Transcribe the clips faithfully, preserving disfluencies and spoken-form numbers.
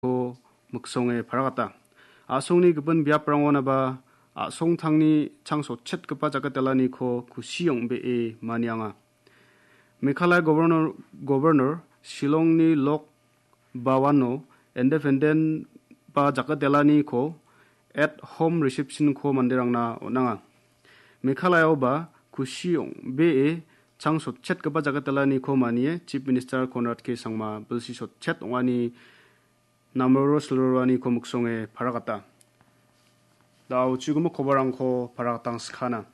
ko miksonge paragata. A·songni gipin biaprangonaba a·songtangni changsotchetgipa jakatelaniko kusi ong·bee manianga. Meghalaya Governor, Governor Shillongni Lok Bhawano independent ba jakatelaniko at home reception-ko manderangna on·anga. Meghalayaoba kusi ong·bee changsotchetgipa jakatelaniko manie Chief Minister Conrad K Sangma bilsi sotchet ong·ani namroro silroroaniko miksonge paragata. Da·o chigimo kobarangko paragatangsakana.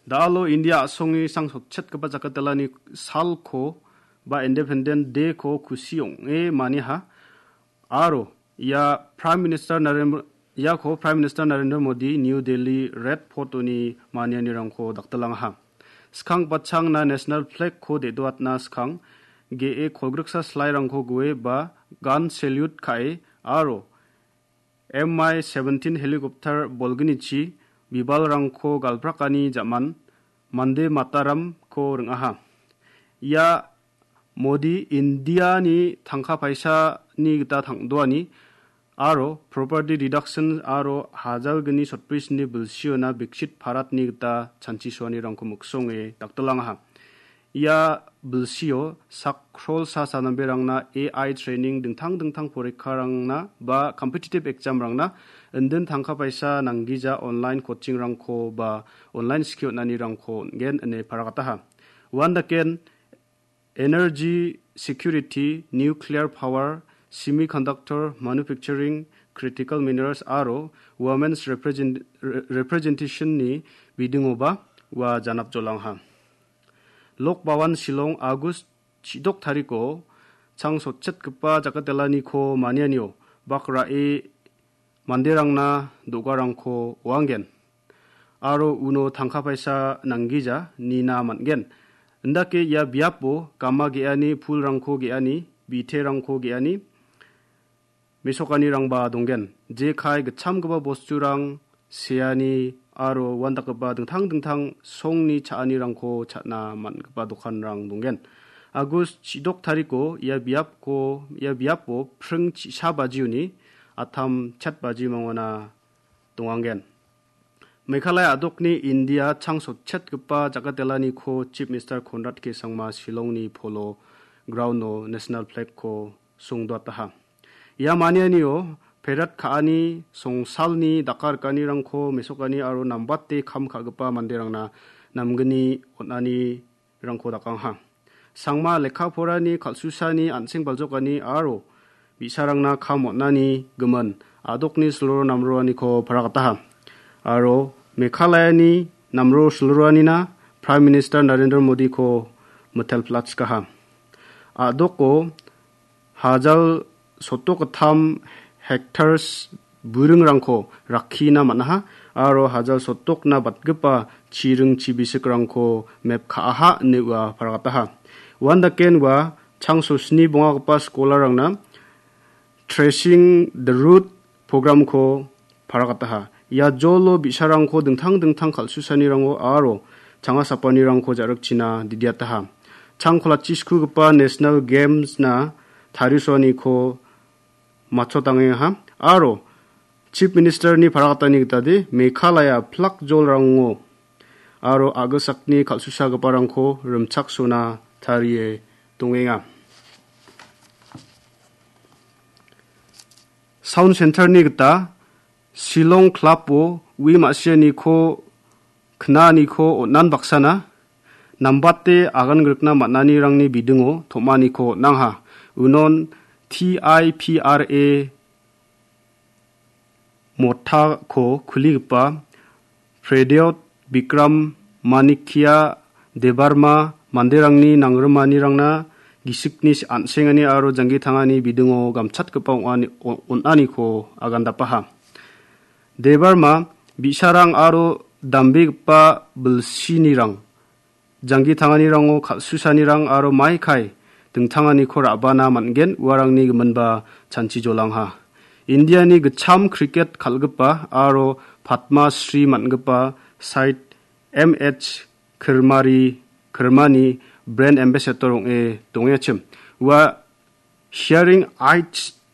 Da·alo India a·songni changsotchetgipa jakatelani salko ba Independent Day-ko kusi ong·e maniha. Aro ia Prime Minister Narendra, iako Prime Minister Narendra Modi New Delhi Red Fort-oni manianirangko daktilangaha. Skang patchangna National Flag-ko de·doatna skang ge·e kolgriksa slairangko gue ba gun salute ka·e aro M I seventeen helicopter bolgnichi bibalrangko galprakani ja·man Mande Mataram-ko ring·aha. Ia Modi Indiani tangka paisani gita tang·doani aro property deduction aro hajalgni sotbrisni bilsiona Viksit Bharatni gita chanchisoanirangko miksonge daktilangaha. Ia bilsio sak krolsa sanamberangna A I training dingtang dingtang porikkarangna ba competitive exam-rangna indin tangka paisa nanggija online coaching-rangko ba online skill on·anirangko on·gen ine paragataha. Uandaken energy security, nuclear power, semiconductor, manufacturing, critical minerals aro women's represent-, re-, representation-ni bidingoba ua janapjolangha. Lok Bhawan Shillong August chidok tariko changsotchetgipa jakatelaniko manianio bak ra·e manderangna do·garangko oanggen. Aro uno tangka paisa nanggija nina man·gen. Indake ia biapo gama ge·ani, pulrangko ge·ani, biterangko ge·ani, mesokanirangba donggen. Jekai gitchamgipa bosturang, seani aro uandakgipa dingtang dingtang songni cha·anirangko cha·na man·gipa dokanrang donggen. Agus chidok tariko ia biapko, ia biapo pring chi-, sa bajioni atam chet baji mangona donganggen. Meghalaya a·dokni India changsotchetgipa jakatelaniko Chief Minister Conrad K Sangma Shillongni Polo Ground-o National Flag-ko songdoataha. Ia manianio perat ka·ani, songsalni dakarikanirangko mesokani aro nambate kam ka·gipa manderangna namgni on·ani rangko dakangha. Sangma lekka porani, kal·susani, an·seng baljokani aro bi·sarangna kam on·ani gimin a·dokni siloro namroaniko paragataha. Aro Meghalayani namro siloroanina Prime Minister Narendra Modiko mitelplatskaha. A·doko hajal sotdok gittam hectares buringrangko rakkina man·aha aro hajal sotdokna batgipa chiring chibisikrangko mep ka·aha ine ua paragataha. Uandaken ua changso sni bongagipa skolarrangna Tracing the Root programko paragataha. Ia jolo bi·sarangko dingtang dingtang kal·susanirango aro changa sapanirangko ja·rikchina didiataha. Changkolachi skugipa National Games-na tarisoaniko matchotangengaha aro Chief Minister-ni paragatani gitade Meghalaya plak jolrango aro a·gilsakni kal·susagiparangko rimchaksona tarie dongenga. Sound Center-ni gita Shillong Club-o ui ma·sianiko knaaniko on·an baksana nambate agan grikna man·anirangni bidingo tom·aniko on·angha. Unon T I P R A mothako kuligipa Prayodot Bikram Manikya Debbarma manderangni nangrimanirangna gisikni an·sengani aro janggi tangani bidingo gamchatgipa ong·ani-, o-, on·aniko agandapaha. Debbarma bi·sarang aro dambegipa bilsinirang janggi tanganirango kal·susanirang aro maikai dingtanganiko ra·bana man·gen, uarangni giminba chanchi jolangha. Indiani gitcham kriket kal·gipa aro Padma Shri man·gipa Said M H Kirmari, Kirmani brand ambassador ong·e dongengachim. Ua hearing aids